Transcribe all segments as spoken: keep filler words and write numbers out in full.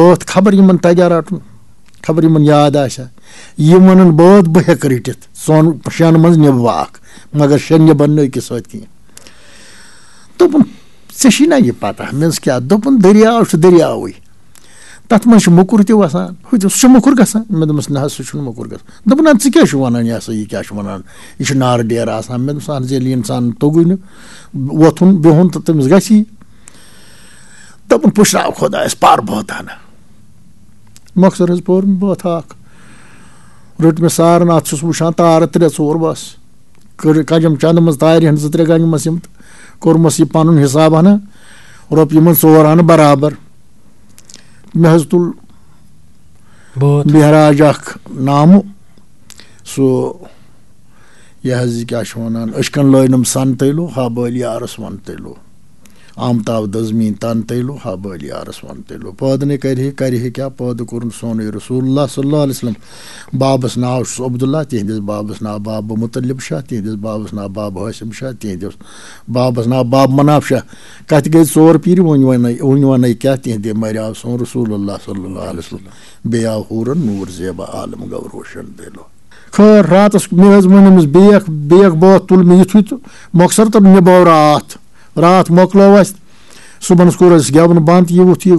بٲتھ خبر یِمن تگیا رٹُن، خبر یِمن یاد آسیا۔ یِم ونن بٲتھ بہٕ ہیٚکہٕ رٔٹِتھ، ژۄن شٮ۪ن منٛز نِبہٕ بہٕ اکھ، مگر شٮ۪ن نِبن نہٕ أکِس سۭتۍ کینٛہہ۔ دوٚپُن، "ژےٚ چھِی نا یہِ پتہ؟" مےٚ دوٚپُس، "کیٛاہ؟" دوٚپُن، "دٔریاو چھُ دٔریاوٕے، تتھ منٛز چھُ موٚکُر تہِ وسان، ہُہ تہِ، سُہ چھُ موٚکُر گژھان؟" مےٚ دوٚپمس، "نہ حظ، سُہ چھُنہٕ موٚکُر گژھان۔" دوٚپُن، "اَدٕ ژٕ کیٛاہ چھُکھ ونان، یہِ ہسا یہِ کیٛاہ چھُ ونان؟ یہِ چھُ نارٕ ڈیرٕ آسان۔" مےٚ دوٚپُس، "اہن حظ، ییٚلہِ انسان توٚگُے نہٕ وۄتھُن بِہُن تہٕ تٔمِس گژھی۔" دوٚپُن، "پُشراو خۄدایس پَر بٲتانہ۔" مۄخصر حظ پوٚر مےٚ بٲتھ اکھ۔ رٔٹ مےٚ سارناتھ، چھُس وٕچھان تارٕ ترٛےٚ ژور بس۔ کٔر کجم چندٕ منٛز تارِ ہن زٕ ترٛےٚ گنجمس یِم تہٕ کوٚرمس یہِ پنُن حساب ہنا، رۄپیہِ منٛز ژور آنہٕ برابر۔ مےٚ حظ تُل بٲتھ۔ مہراج اکھ نامہٕ، سُہ یہِ حظ یہِ کیٛاہ چھِ وَنان، أچھکَن لٲنَم سَن تیلو، ہا بٲلۍ یارَس وَن تیلو۔ آمتاو دٔزمیٖن تَن تیلو، ہا بٲلۍ یارَس وَن تیلو۔ پٲدٕ نے کَرِ ہے، کَرِ ہے کیٛاہ، پٲدٕ کوٚرُن سونُے رسول اللہ صلی اللہ علیہ وسلم۔ بابَس ناو چھُس عبداللہ، تِہِنٛدِس بابَس ناو بابہٕ مُطلِب شاہ، تِہِنٛدِس بابَس ناو بابہٕ حٲسِم شاہ، تِہِنٛدِس بابَس ناو بابہٕ مناف شاہ۔ کَتھِ گٔے ژور پیٖرِ، وۄنۍ وَنَے، وۄنۍ وَنَے کیٛاہ، تِہِنٛدِ مَرِ آو سون رسول اللہ صلی اللہ علیہ وسلم۔ بیٚیہِ آو حوٗرَن نوٗر زیبا عالم گو روشن دِلو۔ خٲر، راتس مےٚ حظ ووٚن أمِس، "بیکھ، بیکھ بٲتھ تُل مےٚ یُتھُے تہٕ مۄخصر تہٕ نِباو راتھ۔" راتھ مۄکلٲو اَسہِ، صُبحنس کوٚر اَسہِ گٮ۪وُن بنٛد، یہِ ووٚتھ یہِ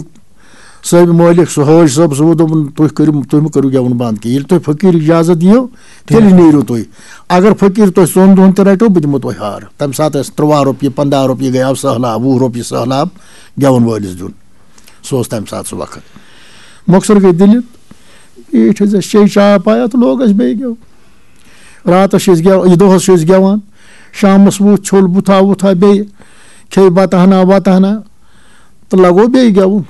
صٲبہِ مٲلِک، سُہ حٲج صٲب، سُہ ووٚن، دوٚپُن، "تُہۍ کٔرِو، تُہۍ مہٕ کٔرِو گٮ۪وُن بنٛد کینٛہہ، ییٚلہِ تُہۍ فقیٖر اجازت دِیِو، تیٚلہِ نیٖرِو تُہۍ۔ اگر فقیٖر تۄہہِ ژۄن دۄہن تہِ رٹیو، بہٕ دِمو تۄہہِ ہار۔" تَمہِ ساتہٕ ٲسۍ ترٛواہ رۄپیہِ، پنٛداہ رۄپیہِ گٔیاو سہلاب، وُہ رۄپیہِ سہلاب گٮ۪وَن وٲلِس دیُن۔ سُہ اوس تَمہِ ساتہٕ سُہ وقت۔ مۄخصر گٔے دٔلیٖل، بیٖٹھۍ حظ أسۍ، چیٚے چاے پایا تہٕ لوگ اَسہِ بیٚیہِ گٮ۪وُن۔ راتَس چھِ أسۍ گٮ۪و-، یہِ دۄہَس چھِ أسۍ گٮ۪وان، شامَس ووٚتھ، چھوٚل بُتھا وُتھا، بیٚیہِ کھیٚیہِ بَتہٕ ہنا وَتہٕ ہنا تہٕ لَگوو بیٚیہِ گٮ۪وُن۔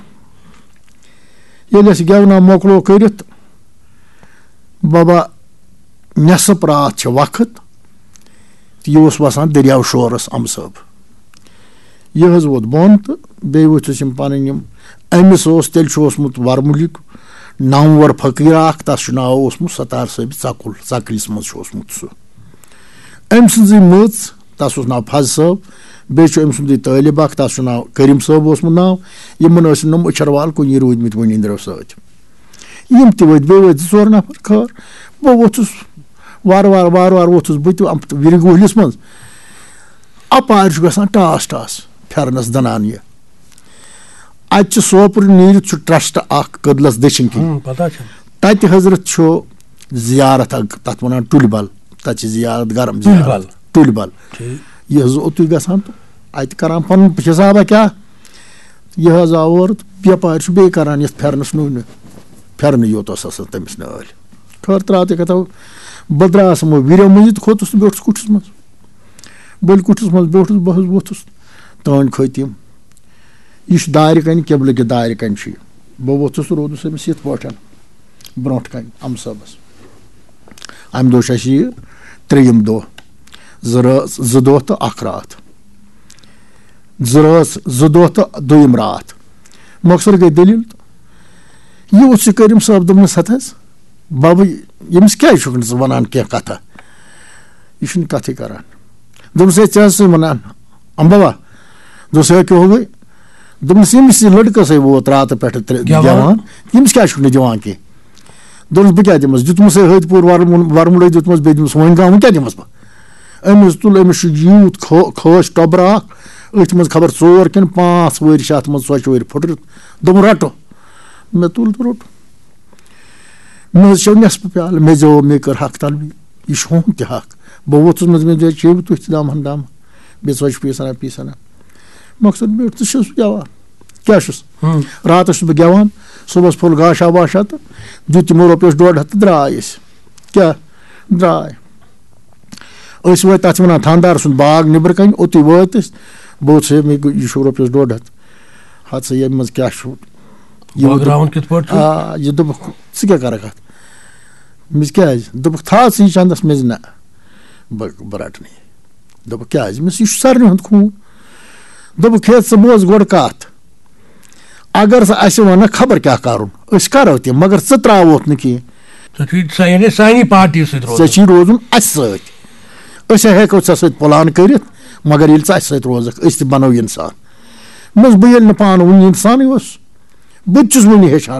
ییٚلہِ اَسہِ گٮ۪ونا مۄکلو کٔرِتھ، بابا، نٮ۪صٕف راتھ چھِ وقت، تہٕ یہِ اوس وَسان دٔریاو شورَس اَمہٕ صٲب۔ یہِ حظ ووت بۄن تہٕ بیٚیہِ وٕچھِس یِم پَنٕنۍ یِم، أمِس اوس، تیٚلہِ چھُ اوسمُت وَرمُلِک نامور فقیٖر اَکھ، تَس چھُ ناو اوسمُت ستار صٲبِ ژَکُل، ژَکلِس منٛز چھُ اوسمُت سُہ۔ أمۍ سٕنٛزٕے مٔژ، تَس اوس ناو فض صٲب، بیٚیہِ چھُ أمۍ سُنٛدٕے طٲلب اَکھ، تَس چھُ ناو کریٖم صٲب اوسمُت ناو۔ یِمَن ٲسۍ نہٕ یِم أچھَر وال کُنی روٗدۍمٕتۍ وٕنہِ أنٛدرَو سۭتۍ۔ یِم تہِ وٲتۍ، بیٚیہِ وٲتۍ زٕ ژور نفر۔ خٲر، بہٕ ووٚتھُس وارٕ وارٕ، وارٕ وارٕ ووٚتھُس بہٕ تہِ اَم-، وِرِ گوہلِس منٛز۔ اَپارِ چھُ گژھان ٹاس ٹاس پھٮ۪رنَس دٕنان یہِ۔ اَتہِ چھُ سوپور نیٖرِتھ چھُ ٹرٛسٹ اَکھ کٔدلَس دٔچھِنۍ کِنۍ۔ ہُم، پتہ چھَم۔ تَتہِ حضرت چھُ زیارت اَکھ، تَتھ وَنان ٹُلۍ بَل۔ تَتہِ چھِ زیارت گرم ٹُلۍ زیارت۔ بَل۔ ٹُلۍ بَل۔ ٹھیٖک۔ یہِ حظ اوتُے گژھان تہٕ اَتہِ کران پَنُن حِسابہ کیٛاہ۔ یہِ حظ آو اورٕ تہٕ بیپارِ چھُ بیٚیہِ کران یَتھ پھٮ۪رنَس نوٗنہِ۔ پھٮ۪رنٕے یوت اوس آسان تٔمِس نٲلۍ۔ خٲر ترٛاو تہِ کَتھا، بہٕ درٛاس یِمو وِرٮ۪و مٔنٛزۍ تہٕ کھوٚتُس تہٕ بیوٗٹھُس کُٹھِس منٛز۔ بٔلۍ کُٹھِس منٛز بیوٗٹھُس، بہٕ حظ ووٚتھُس۔ تٔہنٛدۍ کھٔتۍ یِم۔ یہِ چھُ دارِ کَنہِ، قبلہٕ کہِ دارِ کَنہِ چھُ یہِ۔ بہٕ ووٚتھُس تہٕ روٗدُس أمِس یِتھ پٲٹھۍ برٛونٛٹھ کَنہِ اَمہٕ صٲبَس۔ اَمہِ دۄہ چھُ اَسہِ یہِ ترٛیٚیِم دۄہ۔ زٕ رٲژ، زٕ دۄہ تہٕ اَکھ راتھ۔ زٕ رٲژ، زٕ دۄہ تہٕ دوٚیِم راتھ۔ مۄخصر گٔے دٔلیٖل تہٕ یہِ اوس یہِ کریٖم صٲب، دوٚپنَس، "ہَتہٕ حظ بَبہٕ، ییٚمِس کیٛازِ چھُکھ نہٕ ژٕ وَنان کینٛہہ کَتھا؟ یہِ چھُنہٕ کَتھٕے کَران۔" دوٚپنَس، "ہے، ژےٚ حظ چھُے وَنان، اَمبَوا؟" دوٚپنَس، "ہے، کیٛاہ ہو گٔے؟" دوٚپنَس، "ییٚمِس یہِ لٔڑکَس ہے ووت راتہٕ پٮ۪ٹھٕ ترٛےٚ گٮ۪وان۔ گٮ۪وان، ییٚمِس کیٛازِ چھُکھ نہٕ دِوان کینٛہہ؟" دوٚپنَس، "بہٕ کیٛاہ دِمَس؟ دیُتمَس ہے ۂتۍ پوٗر وَرمُن-، وَرمُلَے دیُتمَس، بیٚیہِ دیُتمَس وۄنۍ گام، وۄنۍ کیٛاہ دِمَس بہٕ؟" أمِس تُل، أمِس چھُ یوٗت کھو-، کھٲسۍ ٹۄبرٕ اَکھ، أتھۍ منٛز خبر ژور کِنہٕ پانٛژھ ؤرۍ چھِ اَتھ منٛز ژۄچہِ ؤرۍ پھٕٹرِتھ۔ دوٚپُن، "رَٹو۔" مےٚ تُل تہٕ روٚٹ۔ مےٚ حظ چیوٚو نٮ۪صفہٕ پیالہٕ، مےٚ زیوو، مےٚ کٔر حق طلبی۔ یہِ چھُ ہُہُنٛد تہِ حق۔ بہٕ ووٚتھُس منٛز، مےٚ دوٚپ، "چیٚیِو تُہۍ تہِ دامہٕ ہن دامہٕ۔" بیٚیہِ ژۄچہِ پیٖسَنا پیٖسَنا۔ مۄخصر بیوٗٹھ، ژٕ چھُس گٮ۪وان۔ کیٛاہ چھُس؟ ہُم۔ راتَس چھُس بہٕ گٮ۪وان، صُبحَس پھوٚل گاشا واشا تہٕ دیُت تِمو رۄپیَس ڈۄڈ ہَتھ تہٕ درٛاے أسۍ۔ کیٛاہ؟ درٛاے۔ أسۍ وٲتۍ، تَتھ چھِ وَنان تھاندار سُنٛد باغ نیٚبرٕ کَنہِ، اوٚتُے وٲتۍ أسۍ۔ بہٕ اوسُس ہے، مےٚ گوٚو، یہِ چھُ رۄپیَس ڈۄڈ ہَتھ۔ ہَتہٕ سا، ییٚمہِ منٛز کیٛاہ چھُ؟ یہِ وۄنۍ بٲگراوُن دوٚپ-، کِتھ پٲٹھۍ چھُ؟ آ، یہِ دوٚپُکھ، "ژٕ کیٛاہ کَرَکھ اَتھ؟" مےٚ دوٚپُس، "کیٛازِ؟" دوٚپُکھ، "تھاو ژٕ یہِ چَندَس۔" مےٚ دوٚپ، "نہ، بہٕ، بہٕ رَٹہٕ نہٕ یہِ۔" دوٚپُکھ، "کیٛازِ؟" مےٚ دوٚپُس، "یہِ چھُ سارنٕے ہُنٛد خوٗن۔" دوٚپُکھ، "ہے، ژٕ بوز گۄڈٕ کَتھ۔ اگر ژٕ اَسہِ وَنَکھ خبر کیٛاہ کَرُن، أسۍ کَرو تہِ، مگر ژٕ ترٛاووتھ نہٕ کینٛہہ۔" ژےٚ چھُے سا-، یعنی سانہِ پارٹی سۭتۍ روزُن۔ ژےٚ چھُے روزُن اَسہِ سۭتۍ۔ أسۍ ہا ہٮ۪کو ژےٚ سۭتۍ پلان کٔرِتھ، مگر ییٚلہِ ژٕ اَسہِ سۭتۍ روزَکھ، أسۍ تہِ بَنو اِنسان۔ مےٚ دوٚپُس، بہٕ ییٚلہِ نہٕ پانہٕ وٕنہِ اِنسانٕے اوسُس، بہٕ تہِ چھُس وُنہِ ہیٚچھان۔